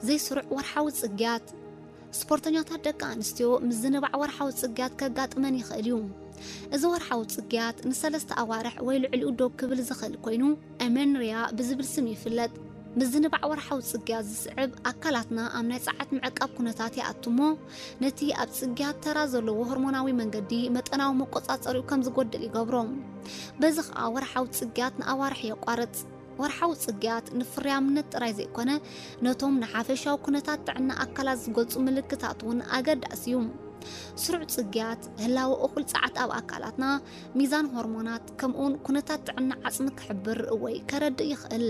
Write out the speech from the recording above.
ዘይስሩዕ ወርሓዊ ጽግያት። ስፖርተኛታት ደቂ ኣንስትዮ ምዝንባዕ ወርሓዊ ጽግያት ከጋጥመን ይኽእል እዩ። እዚ ወርሓዊ ጽግያት ንሰለስተ ኣዋርሕ ወይ ልዕሊኡ ዶብ ክብል ዝኽእል ኮይኑ፣ ኣሜንርያ ብዝብል ስም ይፍለጥ። ምዝንባዕ ወርሓዊ ጽግያት ዝስዕብ ኣካላትና ኣብ ናይ ጸዓት ምዕቃብ ኩነታት ይኣቱ እሞ፣ ነቲ ኣብ ጽግያት ተራ ዘለዎ ሆርሞናዊ መንገዲ መጠናዊ መቆጻጸሪኡ ከም ዝጎድል ይገብሮ። በዚ ኸኣ ወርሓዊ ጽግያት ንኣዋርሕ የቋርጽ። ወርሓዊ ጽግያት ንፍርያምነት ጥራይ ዘይኮነ፣ ነቶም ንሓፈሻዊ ኩነታት ጥዕና ኣካላት ዝገልጹ ምልክታት እውን ኣገዳሲ እዩ። ስሩዕ ጽግያት፣ ህላወ እኹል ጸዓት ኣብ ኣካላትና፣ ሚዛን ሆርሞናት፣ ከምኡውን ኩነታት ጥዕና ዓጽሚ ክሕብር ወይ ከረድእ ይኽእል።